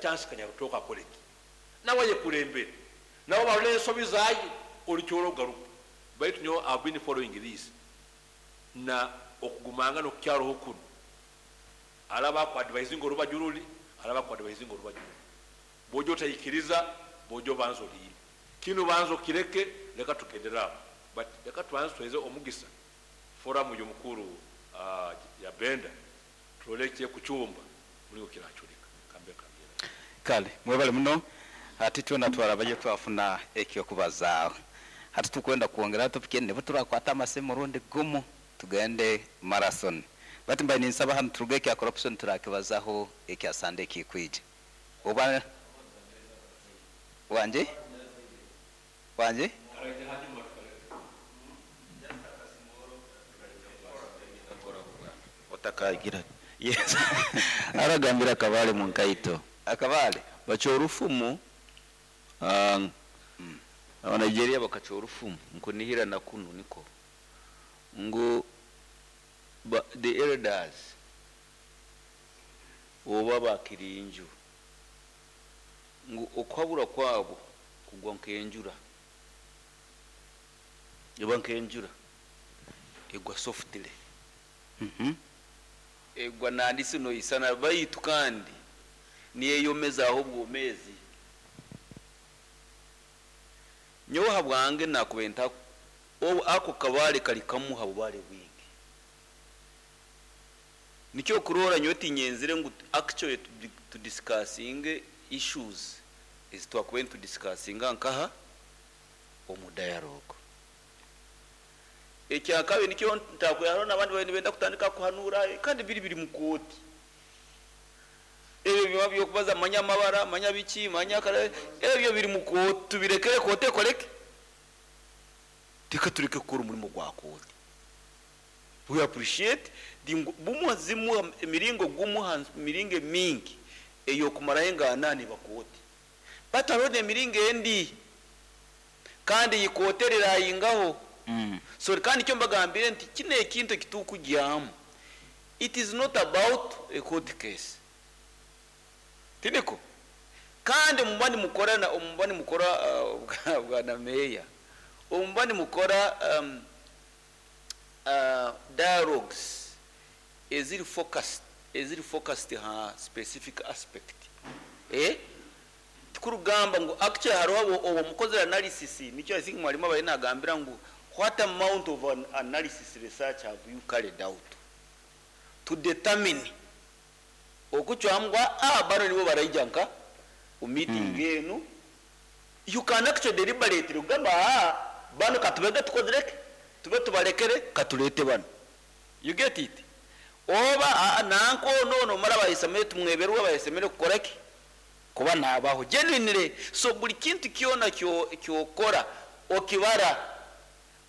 chance Kanyarutooke akoreki nawe ayekurembere nabo barole ensobi zaye orukyoro rugaruka baitu nyowe I have been following this na okugumangana okukyaroho kunu araba aku advisinga orubaju ruri araba aku advisinga orubaju ruri bwoija otaikiriza bwoija obanza orinde kinu banza okireke leka tugendere aho but leka tubanze tuhereze omugisa forum yomukuru ya Benda turole ekyekucumba muringo kiraculika kambe nkabyera. Kale mwebale muno. Hati twena twarabayo twafuna eky'okubazaaho. Hati tukwenda kwongeraho topic endi nibwo turakwata amasimu murundi gumu tugende marathon. Bati mbaire ninsaba hanu turuge ekya corruption turakibazaho ekya Sunday ekikwija. Oba Wangi? Wangi? Otakagira. Yes. Aragambira akabare mu nkaito. Akabare? Bacwa orufumu, aba Nigeria bakacwa orufumu, nkunihira na kunu niko, ngu the elders oba bakirinju, ngu okuhabura kwabo kugwa nk'enjura, eba nk'enjura, egwa softly. Egwa nandisi noisana baitu kandi niyeyomezaaho obwomeezi. Nyowe habwange nakubaire nta obu ako kabaale kari kamu ha bubaale bwingi. Nikyo okuroora nyowe tinyenzire ngu actually tu discussinge issues ezi twakubaire nitu discussinga nkaha? Omu dialogue. Ekyakabi nikyo ntakwiha hariho nabandi babaire nibenda kutandika kuhanuura kandi biri biri mu kooti. Ebyo byona by'okubaza manya amabara, manya biki, manya kare, ebyo biri mu kooti tubirekere kooti ekore ki? Reka tureke kukora omurimo gwa kooti. We appreciate the ngu bumwe zimwe emiringo gumwe aha miringo emingi ey'okumaraho engaanani eba kooti. But hariho n'emiringo endi kandi ei kooti eriraayingaho. So kandi nikyo mbagambire nti kinu ekintu eki turikugyamu it is not about a court case. Tiniko? Kandi omuba nimukora na omuba nimukora bwana meeya, omuba nimukora dialogues eziri focused eziri focused ha specific aspect eh tikurugamba ngu actually hariho obu obu omukozire analysis nikyo I think mwarimu abaire nagambira ngu what amount of an analysis research have you carried out to determine okucwamu ngu aa banu nibo baraija nka omu meeting enu you can actually deliberately kugamba aa banu katubege tukozire ki tube tubarekere katureete banu You get it? Oba aa nanka onu onu omara abayesemere tumweberwe abayesemere kukora ki? Kuba nabaho genuinely. So buri kintu kyona kyo kyokora okibara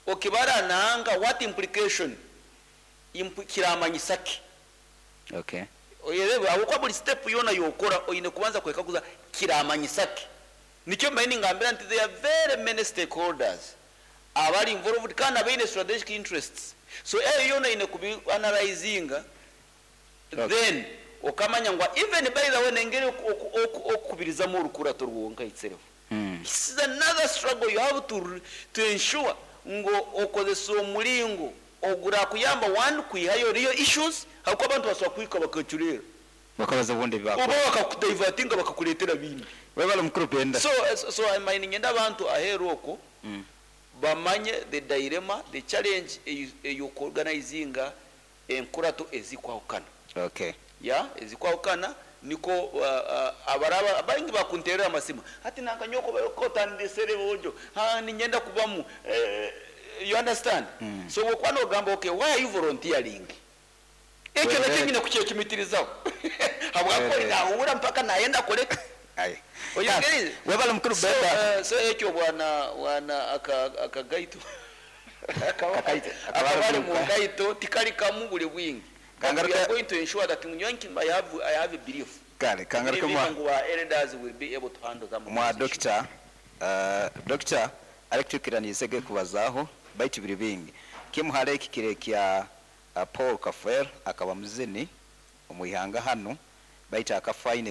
okibara nanka what implication imp kiramanyisa ki? Okay. Oyereebe ahabw'okuba buri step yoona yokora oine kubanza kwekaguza kiramanyisa ki? Nikyo mbaire ningambira nti there are very many stakeholders abari involved kandi abaine strategic interests so ebyo byona oine kubi analyzinga then okamanya ngu even by the way nengeri okukubirizamu orukurato rwonka itself it's another struggle you have to to ensure ngu okozesa omuringo ogurakuyamba one kwihayo real issues ahabw'okuba abantu basobora kuhika bakacureera. Bakabaza obundi ebi Oba baakora. bakakudivertinga bakakureetera bindi. Webale mukuru Benda. So so mbaire niinyenda abantu aheeru okwo bamanye the dilemma, the challenge ey'oku organizinga enkurato ezikwahukana. Okay. Yeah, ezikwahukana nikwo abaraba baingi bakunteerera amasimu, hati nanka nyowe ku otandisire boojo, haa niinyenda kubamu, you understand? So obu okuba noogamba okay why are you volunteering? Ekyo nakyo nyine kukyecumitirizaho habw'okuba ori nahuura mpaka nayenda akore ki? Oyegerize? Webale mukuru So Benda. so ekyo bwana bwana aka akagaito Kakaito akabari mu ngaito tikari kamu buri bwingi but we are going to ensure that nyowe nkimba I have I have a belief Kale kangaruke mwa ngu our elders will be able to handle some of mwa those issues. Dokita Dokita arikutwikiraniize ge kubazaaho baitu biri bingi. Kimu hali eki kiri ekya Paul Kafwel akaba muzini omu ihanga hanu baitu akafa aine.